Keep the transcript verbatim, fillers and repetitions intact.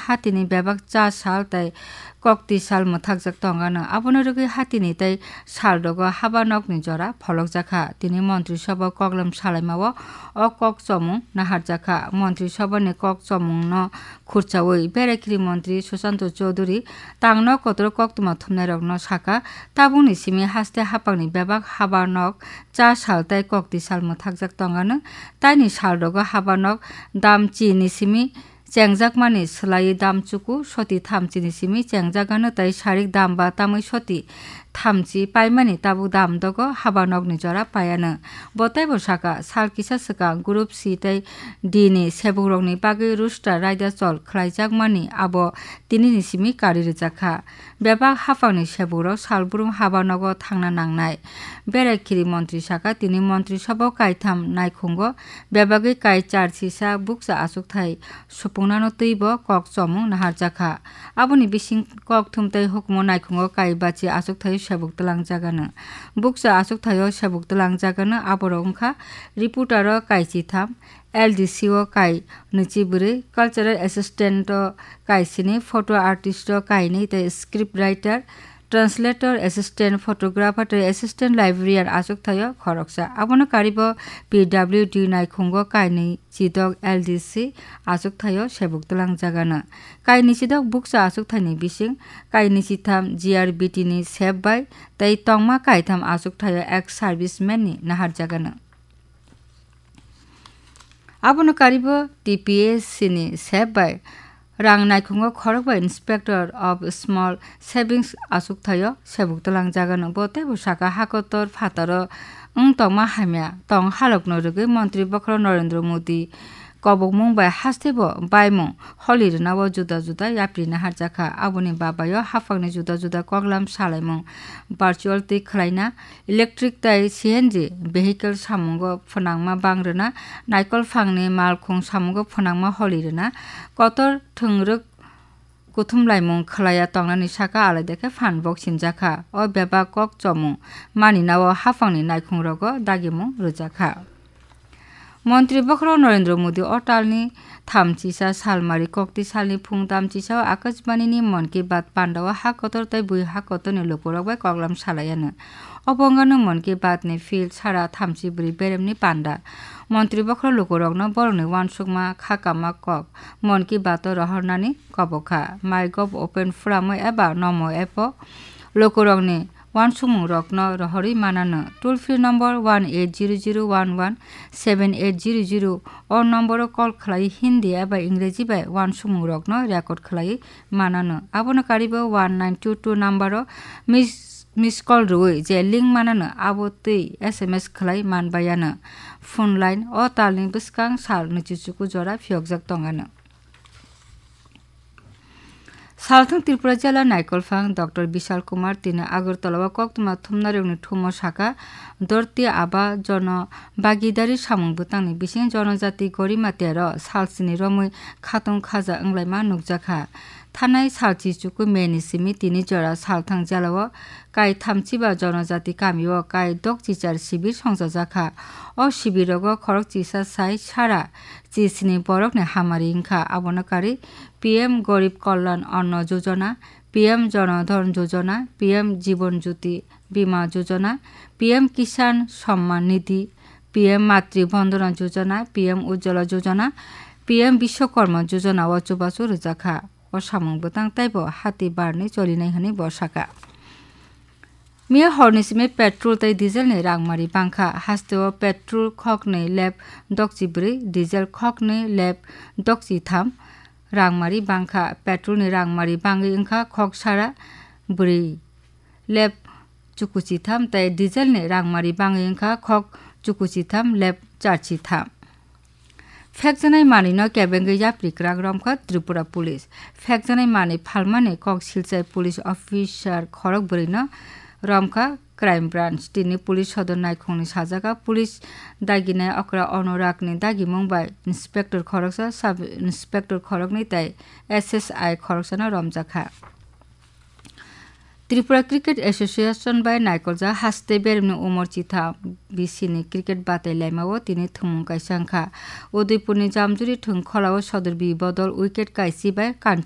hatini bebak cha sal tei kokti sal mwthakjak tongano. Abono rwgwi hatini tei sal rogo haba nokni jora pholokjakha. Tini montri sobo koklam salaimao o kok chomung naharjakha. Montri soboni kok chomungno khurchaui Beraikiri montri Susanto Chowdhury tangno kotoro koktwma thumnairokno saka, tabukni simi haste haphangni bebak haba nok cha sal tei kokti sal mwthakjak tongano. Taini sal rogo haba nok dam chini simi chengjakmani swlaiwi dam chuku soti thamchini simi chengjagano tei sarik dam ba tamwi soti thamchi paimani tabuk dam dogo haba nokni jora paiano. Bo teibo saka, sal kisa swkang Group C tei D ni sebukrokni bagwi roster raida chol khlaijakmani abo tinini simi kari rwjakha. Bebak haphangni sebukrok salbrum haba nogo thangna nangnai. Beraikiri montri saka, tini montri sobo kaitham naikhungo bebagwi kai char sisa bukcha achukthai supungnano twibo kok chomung naharjakha. Aboni bising kokthum tei hukumo naikhungo kai bachi achukthai sebuk twlangjagano. Bukcha achukthaio sebuk twlangjagano aborok wngkha reporter o kai chitham, L D C o kai nwichi bwrwi, cultural assistant o kai sini, photo artist o kai nwi tei script writer, translator, assistant photographer tei assistant librarian achukthaio khoroksa. Abono karibo P W D naikhungo kai nwi chidok L D C achukthaio sebuk twlangjagano. Kai nwi chidok bukcha achukthaini bising kai nwi chitham G R B T ni sep bai tei tongma kaitham achukthaio ex serviceman ni naharjagano. Abono karibo T P S C ni sep bai rang naikhungo khorok bai Inspector of Small Savings achukthaio sebuk twlangjagano. Bo teibo saka hakotor phataro wng tongma hamya tong halokno rwgwi Montri Bokhorok Narendra Modi kobokmung bai hastebo baimung holi rwnao juda juda yapri naharjakha. Aboni babaio haphangni juda juda koklam salaimung, virtual twi khwlaina, electric tei C N G vehicle samungo phwnangma bang rwna, naikolphangni malkhung samungo phwnangma holi rwna, kotor thwngrwk kuthumlaimung khwlaiya tongnani saka alaida khe phan bok sinjakha. O bebak kok chomung maninao haphangni naikhungrogo dagimung rwjakha. Montri Bokhorok Narendra Modi o talni thamchisa salmari kokti salni phung tamchisao Akashbanini Mann Ki Baat pandao ha kotor tei bui ha kotorni lukurok bai koklam salaiano. Obo wngkha Mann Ki Baatni field sara thamchi bwrwi beremni panda. Montri Bokhorok lukurokno borokni uansukma kha kama kok Mann Ki Baat o rohornani kobokha. MyGov open forum o eba Namo app o lukurokni uansukmungrokno rohorwi manano. Toll free number one eight zero zero one one seven eight zero zero o nomboro call khlai Hindi eba Ingreji bai uansukmungrokno record khlai manano. Abono karibo one nine two two numbero miss, miss call rwui je link manano abo twi S M S khlai manbayano. Phone line o talni bwskang sal nwichichuku jora phiyokjak tongano. Salthang Tripura jila naikolphang Doctor Bishal Kumar tini Agartala o koktwma thumnarokni thumo saka, Dhorti Aaba Jana Bhagidari samung bwtangni bising Janajati Gorima tero salsini romwi khatung khaja wnglaima nukjakha. Thanai salchi chuku May ni simi tini jora Salthang jila o kai thamchiba Janajati kamio kai dok chichar sibir songchajakha. O sibirogo khorok chisa sai sara chisni borokni hamari wngkha. Abono kari P M Garib Kalyan Anna Yojana, P M Jan Dhan Yojana, P M Jeevan Jyoti Bima Yojana, P M Kisan Samman Nidhi, P M Matri Vandana Yojana, P M Ujjwala Yojana, P M Bishwakarma Yojana o chubachu rwjakha. O samung bwtang teibo hati barni cholinai hwnwi bo sakha. Miya horni simi petrol tei diesel ni rangmari bangkha. Hasteo petrol khoknwi lep dokchi bwrwi, diesel khoknwi lep dokchi tham rangmari bangkha. Petrol ni rangmari bangwi wngkha khok sara bwrwi lep chukuchi tham tei diesel ni rangmari bangwi wngkha khok chukuchi tham lep charchi tham. Phekjanai manwino kebengwi yapri kwrak romkha Tripura Police. Phekjanai manwi phalmani kok silchai police officer khorok bwrwino romkha Crime Branch. Tini police sodor naikhungni sajaka police daginai okra Anuragni dagimung bai inspector khoroksa, sub inspector khoroknwi tei S S I khoroksano romjakha. Tripura Cricket Association bai naikoljak haste beremni umor chitham bisini cricket batai laimao tini thwngmung kaisa wngkha. Udaipurni Jamjuri thwng kholao Sodorbi bodol wicket kaisi bai Kanchan